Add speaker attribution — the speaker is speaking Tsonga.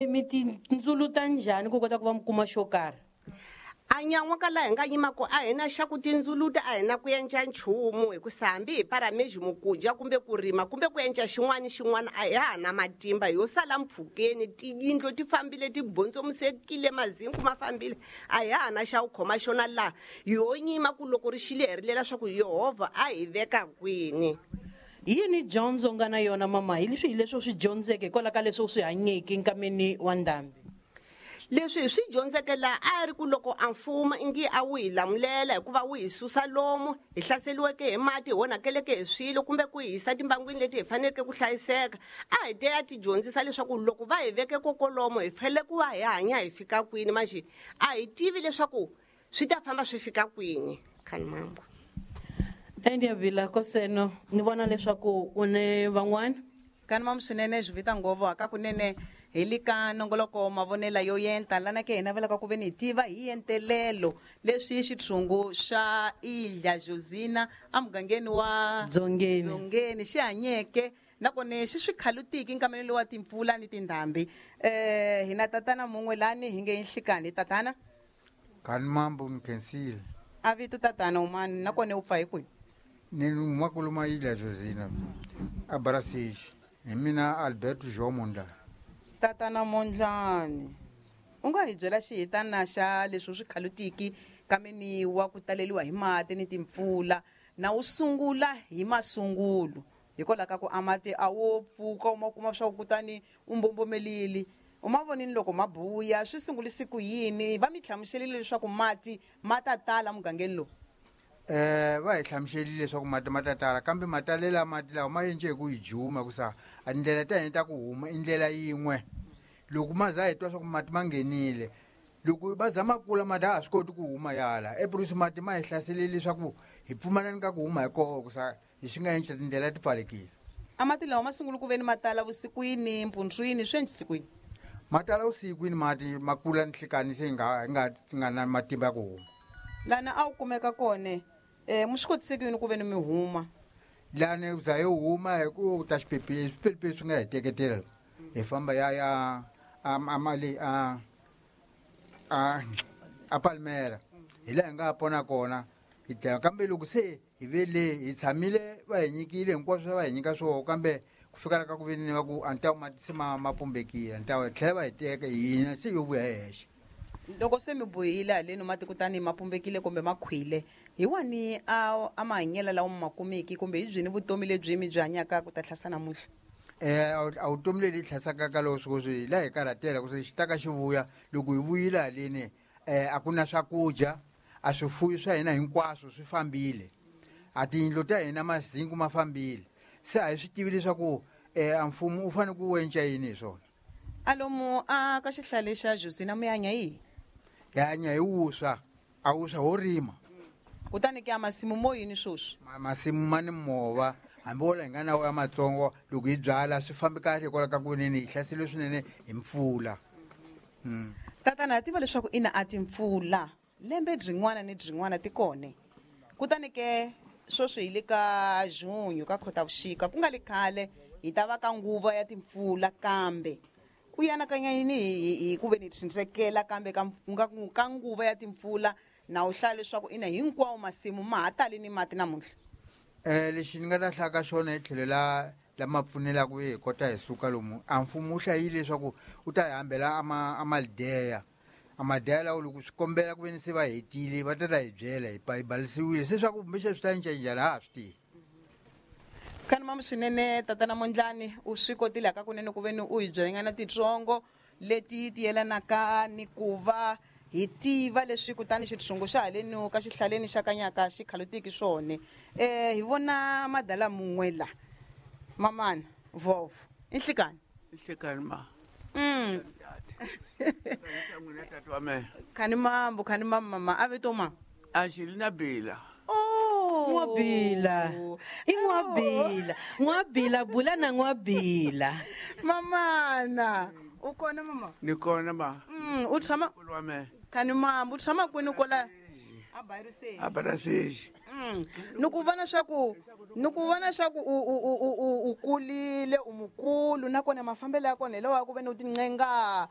Speaker 1: Mi tindzuluta njhani ku kota ku va mi kuma xo karhi?
Speaker 2: A nyan'wa ka laha hi nga yima ko a hi na xa ku tindzuluta, a hi na ku endla nchumu, hikusa hambi hi parameji ku dya kumbe ku rima kumbe ku endla xin'wana xin'wana, a hi ha na matimba. Yo sala mpfhukeni, tiyindlu ti fambile, ti bondzomusekile, mazinku ma fambile, a hi ha na xa ku khoma xona laha. Yo nyima ku loko ri xile hi rilela swa ku Yehovha a hi veka kwini.
Speaker 1: Yini dyondzo nga na yona mama hi leswi hi leswi u swi dyondzeke hikwalaho ka leswi u swi hanyeke nkameni wa ndhambi?
Speaker 2: Leswi hi swi dyondzeke laha a ri ku loko a mfumo ingi a wu hi lamulela hikuva wu hi susa lomu hi hlaseriweke hi mati, hi onhakeleke hi swilo, kumbe ku hi yisa timbangwini leti hi faneleke ku hlayiseka, a hi te ya ti dyondzisa leswaku loko va hi veke kokolomo hi fanele ku va hi hanya hi fika kwini. Manjhe a hi tivi leswaku swi ta famba swi fika kwini. Khani mambo
Speaker 1: Endiavila koseno ni vona leswaku u ne van'wana.
Speaker 3: Kani mamu swinene swi vita ngopfu haka kunene hi le ka nongoloko mavonela yo yenta lana ke hina velaka ku ve ni hi tiva hi yentelelo leswi xitshungu xa Ilha Josina emugangeni wa
Speaker 1: Dzongeni.
Speaker 3: Dzongeni xi hanyeke nakona xi swi khalutiki nkamelo lowa timpfula ni tindhambi. Hina tatana mun'we lani hi nge nhlikani tatana.
Speaker 4: Kani mambo nkhensile.
Speaker 3: A vito tatana umani nakona u pfa hi kwihi?
Speaker 4: Ni huma kuluma Ilha Josina a Barasixi. Hi mina Alberto João Mondlane.
Speaker 3: Tatana Mondlane, u nga hi byela xihitana xa leswi u swi khalutiki kameni wa ku taleliwa hi mati ni timpfula na wu sungula hi masungulo hikwalaho ka ku a mati a wo pfuka u ma kuma swa ku kutani u mbombomelile, u ma vonini loko ma buya swi sungulise ku yini? Va mi hlamuselile leswaku mati ma ta tala mugangeni lowu?
Speaker 4: Va hi hlamuselile leswaku mati ma ta tala, kambe matalela mati lawa ma endle hi ku hi juma ku sa a tindlela ta hina ta ku huma i ndlela yin'we. Loko ma za hi twa swa ku mati ma nghenile, loko va za ma kula mati a ha swi koti ku huma yala ePrusi, mati ma hi hlaselile leswaku hi pfumalani ka ku huma hi koho ku sa hi swi nga endla tindlela ti pfalekile.
Speaker 3: A mati lawa ma sungula ku ve ni ma tala vusikwini, mpundzwini, swi endlise ku yini?
Speaker 4: Ma tala vusikwini, mati ma kula nhlikani se hi nga hi nga nga na matimba ya ku huma.
Speaker 3: Lana a wu kumeka kona mi swi kotise ku yini ku ve ni mi huma?
Speaker 4: Lani za hi huma hi ku ta xiphepheni, swiphepheni swi nga hi teketela hi famba ya ya a a mali a a a Palmera, hi laha hi nga pona kona hi dlaya. Kambe loko se hi ve le hi tshamile, va hi nyikile hinkwaswo va hi nyika swoho, kambe ku fika ka ku ve ni va ku a ni ta mati se ma pumbekile, a ni ta va tlhela va hi teka hina se yo vuya hi hexe.
Speaker 3: Loko se mi bohile haleni mati kutani ma pumbekile kumbe ma khwile, hi wani a mahanyelo lawa mi ma kumiki kumbe hi byini vutomi lebyi mi byi hanyaka ku ta tlhasa namuntlha?
Speaker 4: A vutomi leli tlhasaka ka loko sweswi hi laha hi karhatela ku se xi ta ka xi vuya. Loko hi vuyile haleni a ku na swakudya, a swifuyo swa hina hinkwaswo swi fambile, a tiyindlu ta hina mazinku ma fambile, se a hi swi tivi leswaku a mfumo u fanele ku enca yini hi swona.
Speaker 3: Alomu a ka xihlale xa Josina mi hanya yihi?
Speaker 4: Hi hanya hi wuswa, a wuswa ho rima.
Speaker 3: Kutani ke a masimu mo yini sweswi?
Speaker 4: Masimu ma ni mova, hambi wo la hi nga na wo ya matsongo, loko hi byala swi fambi kahle hikwalaho ka ku nini hi hlaseriwe swinene hi mpfula.
Speaker 3: Tatana, ha tiva leswaku ina a timpfula lembe byin'wana ni byin'wana ti kone. Kutani ke sweswi hi le ka junho ka Khotavuxika, ku nga le khale hi ta va ka nguva ya timpfula, kambe u anakanya yini hi ku ve ni tshindrekela kambe ka ka nguva ya timpfula na u hlaya leswaku ina hinkwawo masimu ma ha tali ni mati namuntlha?
Speaker 4: Lexi ni nga ta hlaya ka xona hi tlhelo la lama pfunelaka hi kota hi suka lomu, a mfumo wu hlayile leswaku wu ta hi hambela a malideya, a madeya lawo loko swi kombela ku ve ni se va hetile va ta ta hi byela hi hi balisiwile se swa ku kumbexana swi ta cinca njhani a ha swi tivi.
Speaker 3: Khani mamu swinene tatana Mondlani, u swi kotile hakakunene ku ve ni u hi byelanyana titsongo leti ti yelanaka ni ku va hi tiva leswi kutani xitshungu xa haleni ka xihlaleni xa Kanyaka xi khalutiki swona. Hi vona madala mun'we la mamana vovo i nhlikani.
Speaker 5: Nhlikani ma. N'wina tata wa mehe.
Speaker 3: Khani mambo, khani mambo mama a vito ma.
Speaker 5: A xi na bila.
Speaker 3: Oh.
Speaker 1: N'wabila. I N'wabila. N'wabila bula na N'wabila.
Speaker 3: Mamana, u kona mama?
Speaker 5: Ni kona ma.
Speaker 3: U tshama
Speaker 5: wa mehe.
Speaker 3: Khani mambo, u tshama kwini kola?
Speaker 5: A Baraseji.
Speaker 3: Ni ku vona swa ku ni ku vona swa ku u u u u u kulile, u mukulu, nakona mafambelo ya kona hi lawa ya ku ve ni u tincenga.